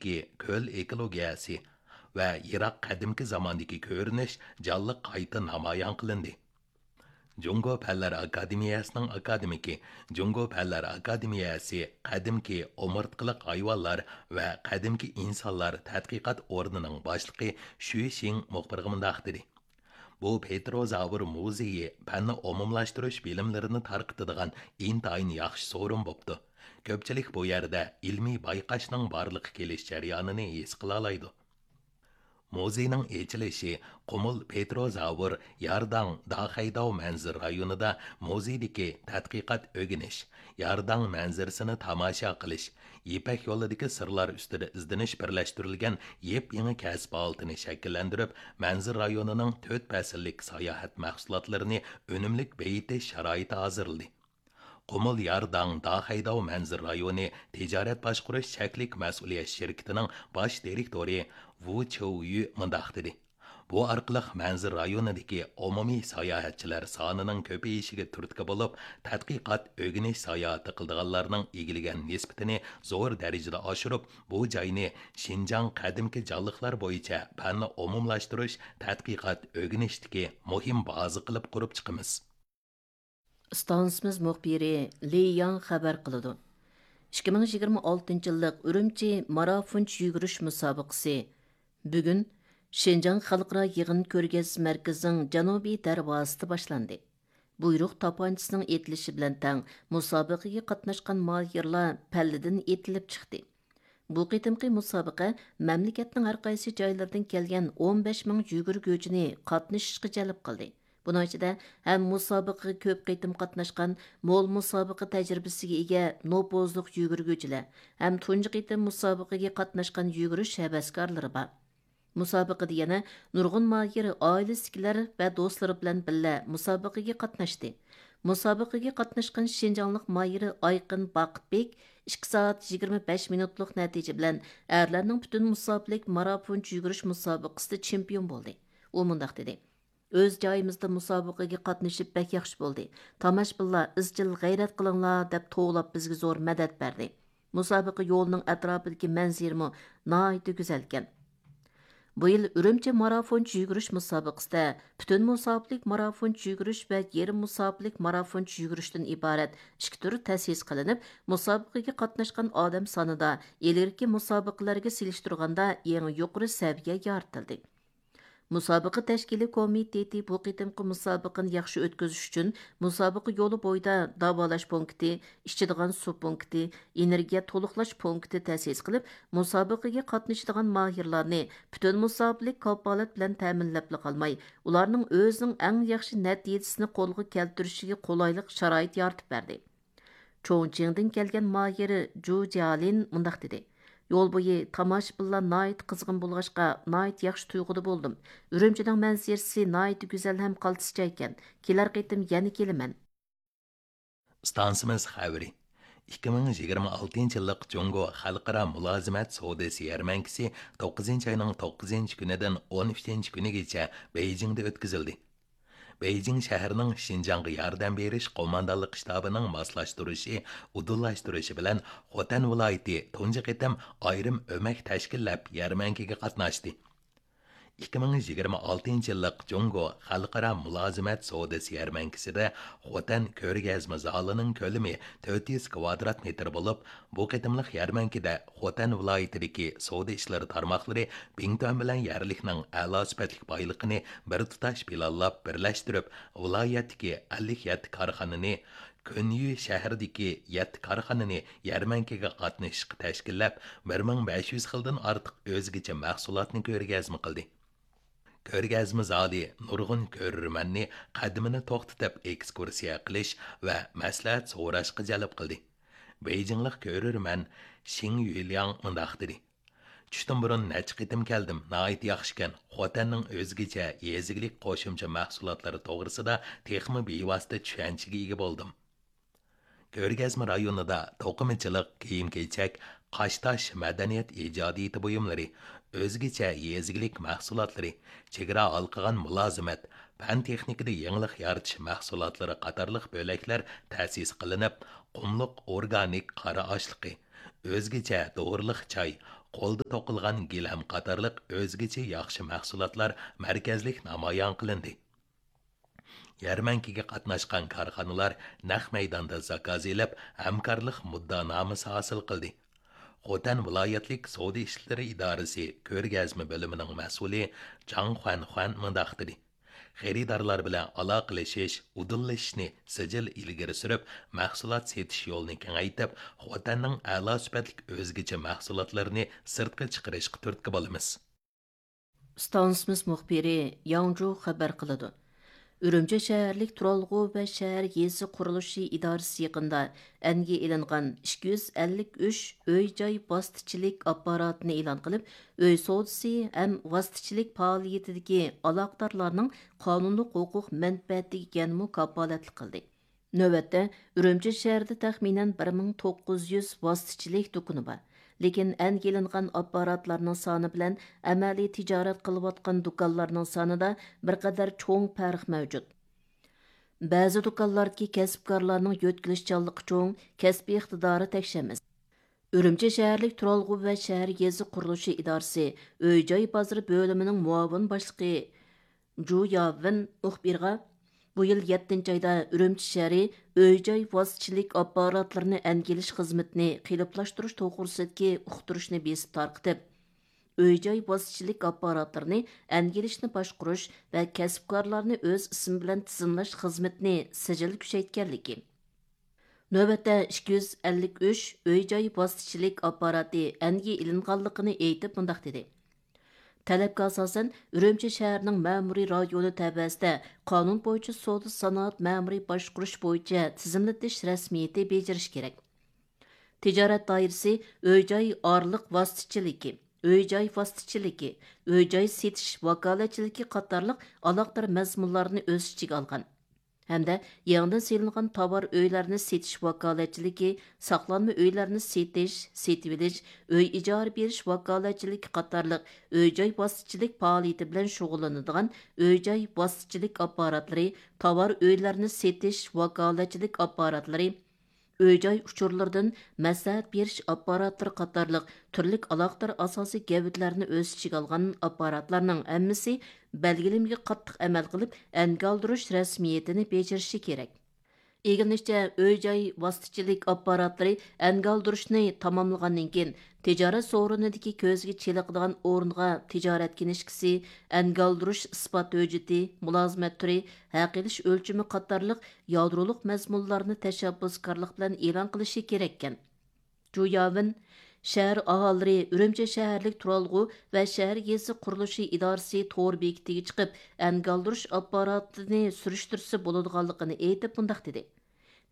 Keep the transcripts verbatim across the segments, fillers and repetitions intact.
ئىچىدىكى كۆل ئېكولوگىيەسى ۋە يىراق قەدىمكى زاماندىكى كۆرۈنۈش جانلىق قايتا نامايان قىلىندى. جۇڭگو پەنلەر ئاكادېمىيەسىنىڭ ئاكادېمىكى، جۇڭگو پەنلەر ئاكادېمىيەسى قەدىمكى ئومۇرتقىلىق ھايۋانلار ۋە قەدىمكى ئىنسانلار تەتقىقات ئورنىنىڭ باشلىقى شۈ شىڭ مۇخبىرغا مۇنداق دېدى: بۇ پېتروزاۋر مۇزېيى پەننى ئومۇملاشتۇرۇش بىلىملىرىنى تارقىتىدىغان ئىنتايىن ياخشى سورۇن بوپتۇ. كۆپچىلىك بۇ يەردە ئىلمىي بايقاشنىڭ بارلىققا كېلىش جەريانىنى ھېس قىلالايدۇ. مۇزېينىڭ ئېچىلىشى قۇمۇل پېتروزاۋر يارداڭ داخەيداۋ مەنزىرە رايونىدا مۇزېيدىكى تەتقىقات ئۆگىنىش، يارداڭ مەنزىرىسىنى تاماشا قىلىش، يىپەك يولىدىكى سىرلار ئۈستىدە ئىزدىنىش بىرلەشتۈرۈلگەن يېپيېڭى كەسىپ ھالىتىنى شەكىللەندۈرۈپ، مەنزىرە رايونىنىڭ تۆت پەسىللىك ساياھەت مەھسۇلاتلىرىنى ئۈنۈملۈك بېيىتىش شارائىتى ھازىرلىدى. قۇمۇل يارداڭ داخەيداۋ مەنزىرە رايونى تىجارەت باشقۇرۇش چەكلىك مەسئۇلىيەت شىركىتىنىڭ باش دىرېكتورى ۋۇ چيۇيۈ مۇنداق دېدى: بۇ ئارقىلىق مەنزىرە رايونىدىكى ئومۇمىي ساياھەتچىلەر سانىنىڭ كۆپىيىشىگە تۈرتكە بولۇپ، تەتقىقات، ئۆگىنىش ساياھىتى قىلىدىغانلارنىڭ ئىگىلىگەن نىسبىتىنى زور دەرىجىدە ئاشۇرۇپ، بۇ جاينى شىنجاڭ قەدىمكى جانلىقلار بويىچە پەننى ئومۇملاشتۇرۇش، تەتقىقات، ئۆگىنىشتىكى مۇھىم بازا قىلىپ قۇرۇپ چىقىمىز. ئىستانسىمىز مۇخبىرى لى ياڭ خەۋەر قىلىدۇ. ئىككى مىڭ يىگىرمە ئالتىنچى يىللىق ئۈرۈمچى مارافونچە يۈگۈرۈش مۇسابىقىسى بۈگۈن شىنجاڭ خەلقئارا يىغىن كۆرگەزمە مەركىزىنىڭ جەنۇبىي دەرۋازىسىدا باشلاندى. بۇيرۇق تاپانچىسىنىڭ ئېتىلىشى بىلەن تەڭ مۇسابىقىگە قاتناشقان ماھىرلار پەللىدىن ئېتىلىپ چىقتى. بۇ قېتىمقى مۇسابىقە مەملىكەتنىڭ ھەر قايسى جايلىرىدىن كەلگەن ئون بەش مىڭ يۈگۈرگۈچىنى قاتنىشىشقا جەلپ قىلدى. بۇنىڭ ئىچىدە ھەم مۇسابىقىگە كۆپ قېتىم قاتناشقان، مول مۇسابىقە تەجرىبىسىگە ئىگە نوپۇزلۇق يۈگۈرگۈچىلەر، ھەم تۇنجى قېتىم مۇسابىقىگە قاتناشقان يۈگۈرۈش ھەۋەسكارلىرى بار. مۇسابىقىدە يەنە نۇرغۇن ماھىر ئائىلىسىدىكىلەر ۋە دوستلىرى بىلەن بىللە مۇسابىقىگە قاتناشتى. مۇسابىقىگە قاتناشقان شىنجاڭلىق ماھىر ئايقىن باقىتبېك ئىككى سائەت يىگىرمە بەش مىنۇتلۇق نەتىجە بىلەن ئەرلەرنىڭ پۈتۈن مۇساپىلىك مارافونچە يۈگۈرۈش مۇسابىقىسىدە چېمپىيون بولدى. ئۇ مۇنداق دېدى: ئۆز جايىمىزدا مۇسابىقىگە قاتنىشىپ بەك ياخشى بولدى. تاماشىبىنلار ئىزچىل غەيرەت قىلىڭلار دەپ توۋلاپ بىزگە زور مەدەت بەردى. مۇسابىقە يولىنىڭ ئەتراپىدىكى مەنزىرىمۇ ناھايىتى گۈزەلكەن. بۇ يىل ئۈرۈمچى مارافونچە يۈگۈرۈش مۇسابىقىسىدە پۈتۈن مۇساپىلىك مارافونچە يۈگۈرۈش ۋە يېرىم مۇساپىلىك مارافونچە يۈگۈرۈشتىن ئىبارەت ئىككى تۈر تەسىس قىلىنىپ، مۇسابىقىگە قاتناشقان ئادەم سانىدا ئىلگىرىكى مۇسابىقىلەرگە سېلىشتۇرغاندا ئەڭ يۇقىرى سەۋىيە يارىتىلدى. مۇسابىقە تەشكىلىي كومىتېتى بۇ قېتىمقى مۇسابىقىنى ياخشى ئۆتكۈزۈش ئۈچۈن مۇسابىقە يولى بويىدا داۋالاش پونكىتى، ئىچىدىغان سۇ پونكىتى، ئېنېرگىيە تولۇقلاش پونكىتى تەسىس قىلىپ، مۇسابىقىگە قاتنىشىدىغان ماھىرلارنى پۈتۈن مۇساپىلىك كاپالەت بىلەن تەمىنلەپلا قالماي، ئۇلارنىڭ ئۆزىنىڭ ئەڭ ياخشى نەتىجىسىنى قولغا كەلتۈرۈشىگە قولايلىق شارائىت يارىتىپ بەردى. چوڭچىڭدىن كەلگەن ماھىر جۇ جيالىن مۇنداق دېدى: يول بويى تاماشىبىنلار ناھايىتى قىزغىن بولغاچقا، ناھايىتى ياخشى تۇيغۇدا بولدۇم. ئۈرۈمچىنىڭ مەنزىرىسى ناھايىتى گۈزەل ھەم قالتىس جايكەن. كېلەر قېتىم يەنە كېلىمەن. ئىستانسىمىز خەۋىرى. ئىككى مىڭ يىگىرمە ئالتىنچى يىللىق جۇڭگو خەلقئارا مۇلازىمەت سودىسى يەرمەنكىسى توققۇزىنچى ئاينىڭ توققۇزىنچى كۈنىدىن ئون ئۈچىنچى كۈنىگىچە بېيجىڭدا ئۆتكۈزۈلدى. بېيجىڭ شەھىرىنىڭ شىنجاڭغا ياردەم بېرىش قوماندانلىق شتابىنىڭ ماسلاشتۇرۇشى، ئۇدۇللاشتۇرۇشى بىلەن خوتەن ۋىلايىتى تۇنجى قېتىم ئايرىم ئۆمەك تەشكىللەپ يەرمەنكىگە قاتناشتى. ئىككى مىڭ يىگىرمە ئالتىنچى يىللىق جۇڭگو خەلقئارا مۇلازىمەت سودىسى يەرمەنكىسىدە خوتەن كۆرگەزمە زالىنىڭ كۆلىمى تۆت يۈز كۋادرات مېتىر بولۇپ، بۇ قېتىملىق يەرمەنكىدە خوتەن ۋىلايىتىدىكى سودا ئىشلىرى تارماقلىرى بىڭتۈەن بىلەن يەرلىكنىڭ ئەلا سۈپەتلىك بايلىقىنى بىر تۇتاش پىلانلاپ بىرلەشتۈرۈپ، ۋىلايەتتىكى ئەللىك يەتتە كارخانىنى، كۆنيۈ شەھىرىدىكى يەتتە كارخانىنى يەرمەنكىگە قاتنىشىشقا تەشكىللەپ، بىر مىڭ بەش يۈز خىلدىن ئارتۇق ئۆزگىچە مەھسۇلاتنى كۆرگەزمە قىلدى. كۆرگەزمە زالى نۇرغۇن كۆرۈرمەننى قەدىمىنى توختىتىپ ئېكسكۇرسىيە قىلىش ۋە مەسلىھەت سوراشقا جەلپ قىلدى. بېيجىڭلىق كۆرۈرمەن شىڭ يۈلياڭ مۇنداق دېدى: چۈشتىن بۇرۇن نەچچە قېتىم كەلدىم، ناھايىتى ياخشىكەن. خوتەننىڭ ئۆزگىچە يېزا ئىگىلىك قوشۇمچە مەھسۇلاتلىرى توغرىسىدا تېخىمۇ بىۋاسىتە چۈشەنچىگە ئىگە بولدۇم. كۆرگەزمە رايونىدا توقۇمىچىلىق، كىيىم-كېچەك، قاشتاش، مەدەنىيەت ئىجادىيىتى بۇيۇملىرى، ئۆزگىچە يېزا ئىگىلىك مەھسۇلاتلىرى، چېگرا ھالقىغان مۇلازىمەت، پەن-تېخنىكىدا يېڭىلىق يارىتىش مەھسۇلاتلىرى قاتارلىق بۆلەكلەر تەسىس قىلىنىپ، قۇملۇق ئورگانىك قارا ئاشلىقى، ئۆزگىچە دورىلىق چاي، قولدا توقۇلغان گىلەم قاتارلىق ئۆزگىچە ياخشى مەھسۇلاتلار مەركەزلىك نامايان قىلىندى. يەرمەنكىگە قاتناشقان كارخانىلار نەق مەيداندا زاكاز ئېلىپ، ھەمكارلىق مۇددىئانامىسى ھاسىل قىلدى. خوتەن ۋىلايەتلىك سودا ئىشلىرى ئىدارىسى كۆرگەزمە بۆلۈمىنىڭ مەسئۇلى جاڭ خۇەنخۇەن مۇنداق دېدى: خېرىدارلار بىلەن ئالاقىلىشىش، ئۇدۇللىشىشنى سىجىل ئىلگىرى سۈرۈپ، مەھسۇلات سېتىش يولىنى كېڭەيتىپ، خوتەننىڭ ئەلا سۈپەتلىك ئۆزگىچە مەھسۇلاتلىرىنى سىرتقا چىقىرىشقا تۈرتكە بولىمىز. ئىستانسىمىز مۇخبىرى ياڭجۇ خەۋەر قىلىدۇ. ئۈرۈمچى شەھەرلىك تۇرالغۇ ۋە شەھەر يېزا قۇرۇلۇشى ئىدارىسى يېقىندا ئەنگە ئېلىنغان ئىككى يۈز ئەللىك ئۈچ ئۆي-جاي ۋاسىتىچىلىك ئاپپاراتىنى ئېلان قىلىپ، ئۆي سودىسى ھەم ۋاسىتىچىلىك پائالىيىتىدىكى ئالاقىدارلارنىڭ قانۇنلۇق ھوقۇق مەنپەئەتىگە يەنىمۇ كاپالەتلىك قىلدى. نۆۋەتتە، ئۈرۈمچى شەھىرىدە تەخمىنەن بىر مىڭ توققۇز يۈز ۋاسىتىچىلىك دۇكىنى بار. لېكىن ئەنگە ئېلىنغان ئاپپاراتلارنىڭ سانى بىلەن ئەمەلىي تىجارەت قىلىۋاتقان دۇكانلارنىڭ سانىدا بىر قەدەر چوڭ پەرق مەۋجۇت. بەزى دۇكانلاردىكى كەسىپكارلارنىڭ يۆتكىلىشچانلىقى چوڭ، كەسپىي ئىقتىدارى تەكشى ئەمەس. ئۈرۈمچى شەھەرلىك تۇرالغۇ ۋە شەھەر يېزا قۇرۇلۇشى ئىدارىسى ئۆي-جاي بازىرى بۆلۈمىنىڭ مۇئاۋىن باشلىقى جۇ ياۋېن مۇخبىرغا، بۇ يىل يەتتىنچى ئايدا ئۈرۈمچى شەھىرى ئۆي-جاي ۋاسىتىچىلىك ئاپپاراتلىرىنى ئەنگە ئېلىش خىزمىتىنى قېلىپلاشتۇرۇش توغرىسىدىكى ئۇقتۇرۇشنى بېسىپ تارقىتىپ، ئۆي-جاي ۋاسىتىچىلىك ئاپپاراتلىرىنى ئەنگە ئېلىشنى باشقۇرۇش ۋە كەسىپكارلارنى ئۆز ئىسمى بىلەن تىزىملاش خىزمىتىنى سىجىل كۈچەيتكەنلىكى، نۆۋەتتە ئىككى يۈز ئەللىك ئۈچ ئۆي-جاي ۋاسىتىچىلىك ئاپپاراتى ئەنگە ئېلىنغانلىقىنى ئېيتىپ مۇنداق دېدى: تەلەپكە ئاساسەن، ئۈرۈمچى شەھىرىنىڭ مەمۇرىي رايونى تەۋەسىدە قانۇن بويىچە سودا سانائەت مەمۇرىي باشقۇرۇش بويىچە تىزىملىتىش رەسمىيىتى بېجىرىش كېرەك. تىجارەت دائىرىسى ئۆي-جاي ئارىلىق ۋاسىتىچىلىكى، ئۆي-جاي ۋاسىتىچىلىكى، ئۆي-جاي سېتىش ۋاكالەتچىلىكى قاتارلىق ئالاقىدار مەزمۇنلارنى ئۆز ئىچىگە ئالغان ھەمدە يېڭىدىن سېلىنغان تاۋار ئۆيلەرنى سېتىش ۋاكالەتچىلىكى، ساقلانما ئۆيلەرنى سېتىش، سېتىۋېلىش، ئۆي ئىجارە بېرىش ۋاكالەتچىلىكى قاتارلىق ئۆي-جاي ۋاسىتىچىلىك پائالىيىتى بىلەن شۇغۇللىنىدىغان ئۆي-جاي ۋاسىتىچىلىك ئاپپاراتلىرى، تاۋار ئۆيلەرنى سېتىش ۋاكالەتچىلىك ئاپپاراتلىرى، ئۆي-جاي ئۇچۇرلىرىدىن مەسلىھەت بېرىش ئاپپاراتلىرى قاتارلىق تۈرلۈك ئالاقىدار ئاساسىي گەۋدىلەرنى ئۆز ئىچىگە ئالغان ئاپپاراتلارنىڭ ھەممىسى بەلگىلىمىگە قاتتىق ئەمەل قىلىپ، ئەنگە ئالدۇرۇش رەسمىيىتىنى بېجىرىشى كېرەك. ئىگىلىنىشىچە، ئۆي-جاي ۋاسىتىچىلىك ئاپپاراتلىرى ئەنگە ئالدۇرۇشنى تاماملىغاندىن كېيىن، تىجارەت سورۇنىدىكى كۆزگە چېلىقىدىغان ئورۇنغا تىجارەت كىنىشكىسى، ئەنگە ئالدۇرۇش ئىسپات ھۆججىتى، مۇلازىمەت تۈرى، ھەق ئېلىش ئۆلچىمى قاتارلىق يادرولۇق مەزمۇنلارنى تەشەببۇسكارلىق بىلەن ئېلان قىلىشى كېرەككەن. جۇ ياۋېن، شەھەر ئاھالىلىرى ئۈرۈمچى شەھەرلىك تۇرالغۇ ۋە شەھەر يېزا قۇرۇلۇشى ئىدارىسى تور بېكىتىگە چىقىپ، ئەنگە ئالدۇرۇش ئاپپاراتىنى سۈرۈشتۈرسە بولىدىغانلىقىنى ئېيتىپ مۇنداق دېدى: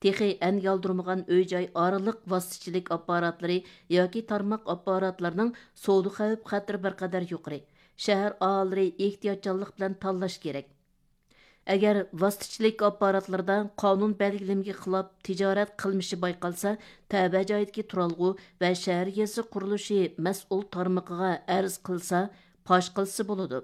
تېخى ئەنگە ئالدۇرمىغان ئۆي-جاي ئارىلىق ۋاسىتىچىلىك ئاپپاراتلىرى ياكى تارماق ئاپپاراتلىرىنىڭ سودا خەۋپ خەتىرى بىر قەدەر يۇقىرى. شەھەر ئاھالىلىرى ئېھتىياتچانلىق بىلەن تاللاش كېرەك. ئەگەر ۋاسىتىچىلىك ئاپپاراتلىرىدا قانۇن بەلگىلىمىگە خىلاپ تىجارەت قىلمىشى بايقالسا، تەۋە جايدىكى تۇرالغۇ ۋە شەھەر يېزا قۇرۇلۇشى مەسئۇل تارمىقىغا ئەرز قىلسا، پاش قىلسا بولىدۇ.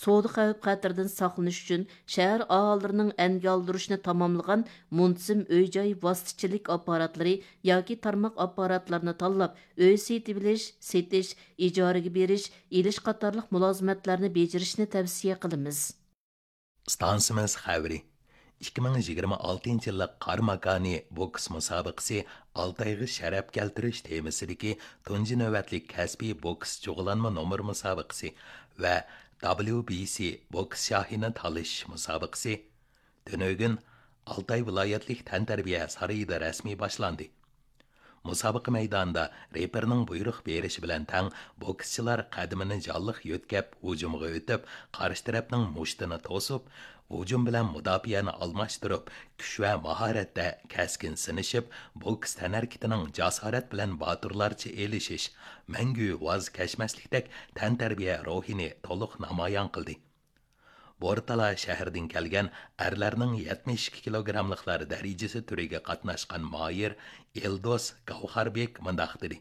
سودا خەۋپ خەتىرىدىن ساقلىنىش ئۈچۈن شەھەر ئاھالىلىرىنىڭ ئەنگە ئالدۇرۇشنى تاماملىغان مۇنتىزىم ئۆي-جاي ۋاسىتىچىلىك ئاپپاراتلىرى ياكى تارماق ئاپپاراتلىرىنى تاللاپ، ئۆي سېتىۋېلىش، سېتىش، ئىجارىگە بېرىش، ئېلىش قاتارلىق مۇلازىمەتلەرنى بېجىرىشنى تەۋسىيە قىلىمىز. ئىستانسىمىز خەۋىرى. ئىككى مىڭ يىگىرمە ئالتىنچى يىللىق قاراماكانى بوكس مۇسابىقىسى ئالتايغا شەرەپ كەلتۈرۈش تېمىسىدىكى تۇنجى نۆۋەتلىك كەسپىي بوكس جۇغلانما نومۇر مۇسابىقىسى ۋە دابليۇ بى سى بوكس شاھىنى تالىشىش مۇسابىقىسى تۈنۈگۈن ئالتاي ۋىلايەتلىك تەنتەربىيە سارىيىدا رەسمىي باشلاندى. مۇسابىقە مەيدانىدا رېپېرنىڭ بۇيرۇق بېرىشى بىلەن تەڭ، بوكسچىلار قەدىمىنى جانلىق يۆتكەپ، ھۇجۇمغا ئۆتۈپ، قارشى تەرەپنىڭ مۇشتىنى توسۇپ، ھۇجۇم بىلەن مۇداپىئەنى ئالماشتۇرۇپ، كۈچ ۋە ماھارەتتە كەسكىن سىنىشىپ، بوكس تەنھەرىكىتىنىڭ جاسارەت بىلەن باتۇرلارچە ئېلىشىش، مەڭگۈ ۋاز كەچمەسلىكتەك تەنتەربىيە روھىنى تولۇق نامايان قىلدى. بورتالا شەھىرىدىن كەلگەن ئەرلەرنىڭ يەتمىش ئىككى كىلوگراملىقلار دەرىجىسى تۈرىگە قاتناشقان ماھىر ئېلدوس گاۋھاربېك مۇنداق دېدى: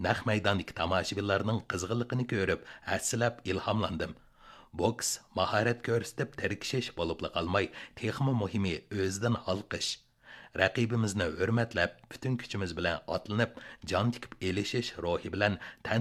نەق مەيداندىكى تاماشىبىنلارنىڭ قىزغىنلىقىنى كۆرۈپ، ھەسسىلەپ ئىلھاملاندىم. بوكس ماھارەت كۆرسىتىپ تىركىشىش بولۇپلا قالماي، تېخىمۇ مۇھىمى ئۆزىدىن ھالقىش. رەقىبىمىزنى ھۆرمەتلەپ، پۈتۈن كۈچىمىز بىلەن ئاتلىنىپ، جان تىكىپ ئېلىشىش روھى بىلەن تەنتە